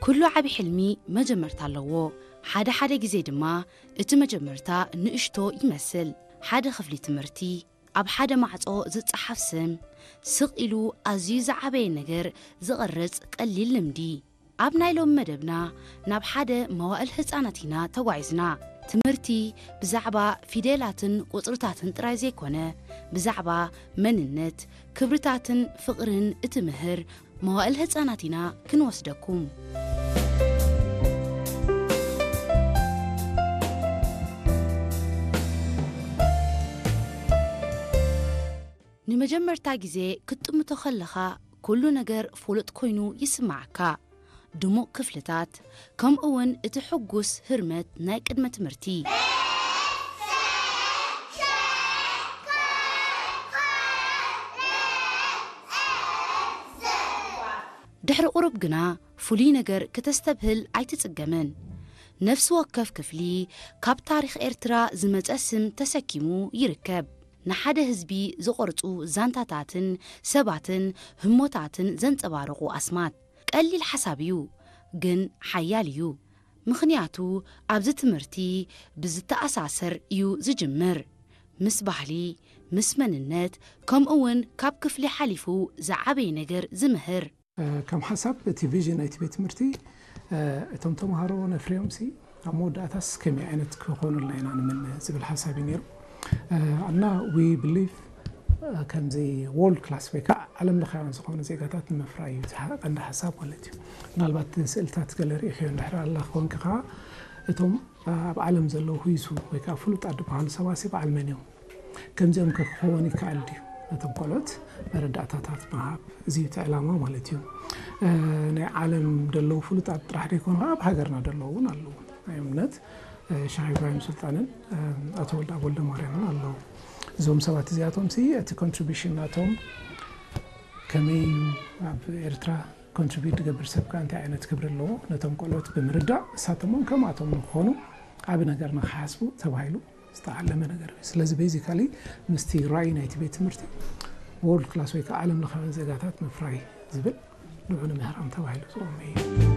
ኩሉ ዓቢ ሕልሚ መጀመርታ ኣለዎ። ሓደ ሓደ ግዜ ድማ እቲ መጀመርታ ንእሽቶ ይመስል። ሓደ ክፍሊ ትምህርቲ፣ ኣብ ሓደ ማዕጾ ዝጸሓፍ ስም፣ ስቕ ኢሉ ኣዝዩ ዝዓበየ ነገር ዝቐርጽ ቀሊል ልምዲ። ኣብ ናይ ሎሚ መደብና ናብ ሓደ መዋእል ህጻናት ኢና ተጓዒዝና። ትምህርቲ ብዛዕባ ፊደላትን ቁጽርታትን ጥራይ ዘይኮነ፣ ብዛዕባ መንነት፣ ክብርታትን ፍቕርን እትምህር መዋእል ህጻናት ኢና ክንወስደኩም። ንመጀመርታ ግዜ ክትጥምቶ ከለኻ፣ ኩሉ ነገር ፍሉጥ ኮይኑ ይስምዓካ። ድሙቕ ክፍልታት፣ ከምኡ እውን እቲ ሕጉስ ህርመት ናይ ቅድመ ትምህርቲ። ድሕሪ ቁሩብ ግና፣ ፍሉይ ነገር ክተስተብህል ኣይትጽገምን። ነፍሲ ወከፍ ክፍሊ፣ ካብ ታሪኽ ኤርትራ ዝመጸ ስም ተሰኪሙ ይርከብ። ንሓደ ህዝቢ ዝቖርጹ ዛንታታትን ሰባትን ህሞታትን ዘንጸባርቑ ኣስማት። ቀሊል ሓሳብ እዩ፣ ግን ሓያል እዩ። ምኽንያቱ፣ ኣብዚ ትምህርቲ ብዝተኣሳሰር እዩ ዝጅምር። ምስ ባህሊ፣ ምስ መንነት፣ ከምኡ እውን ካብ ክፍሊ ሓሊፉ ዝዓበየ ነገር ዝምህር። እ፣ ከም ሓሳብ፣ እቲ ቪዥን ናይቲ ቤት ትምህርቲ፣ እ፣ እቶም ተምሃሮ ነፍርዮም ሲ ኣብ መወዳእታስ ከመይ ዓይነት ክኾኑልና ኢና ንምነ ዝብል ሓሳብ እዩ ነይሩ። እ፣ እና we believe፣ እ፣ ከምዚ ወርልድ ክላስ ወይ ከዓ ዓለም ለኻውያን ዝኾኑ ዜጋታት ንምፍራይ እዩ እቲ ሓ-፣ ቀንዲ ሓሳብ ማለት እዩ። ምናልባት ስእልታት ገለ ርኢኽዮ እንድሕር ኣላ ክኾንኪ ከዓ፣ እቶም ኣብ ዓለም ዘለዉ ህይሱ ወይ ከዓ ፍሉጣት ዝበሃሉ ሰባት ሲ በዓል መን እዮም? ከምዚኦም ከ ክኸውን ይከኣል ድዩ? ነቶም ቆልዑት መረዳእታታት ምሃብ፣ እዚ እዩ እቲ ዕላማ ማለት እዩ። እ፣ ናይ ዓለም ዘለዉ ፍሉጣት ጥራሕ ደይኮኑ፣ ኣብ ሃገርና ዘለዉ እውን ኣለዉ። ናይ እምነት፣ እ፣ ሸኽ ኢብራሂም ሱልጣንን፣ እ፣ ኣቶ ወልደኣብ ወልደማርያምን ኣለዉ። እዞም ሰባት እዚኣቶም ሲ እቲ ኮንትሪቢሽን ናቶም ከመይ እዩ ኣብ ኤርትራ ኮንትሪቢዩት ዝገብር ሰብ ከ እንታይ ዓይነት ክብሪ ኣለዎ? ነቶም ቆልዑት ብምርዳእ፣ ንሳቶም እውን ከምኣቶም ንክኾኑ ዓቢ ነገር ንክሓስቡ ተባሂሉ ዝተዓለመ ነገር እዩ። ስለዚ ቤዚካሊ ምስቲ ራእይ ናይቲ ቤት ትምህርቲ ወርልድ ክላስ ወይ ከዓ ዓለም ለኻውያን ዜጋታት ምፍራይ ዝብል ንዑ ንምህራም ተባሂሉ ዝቖመ እዩ።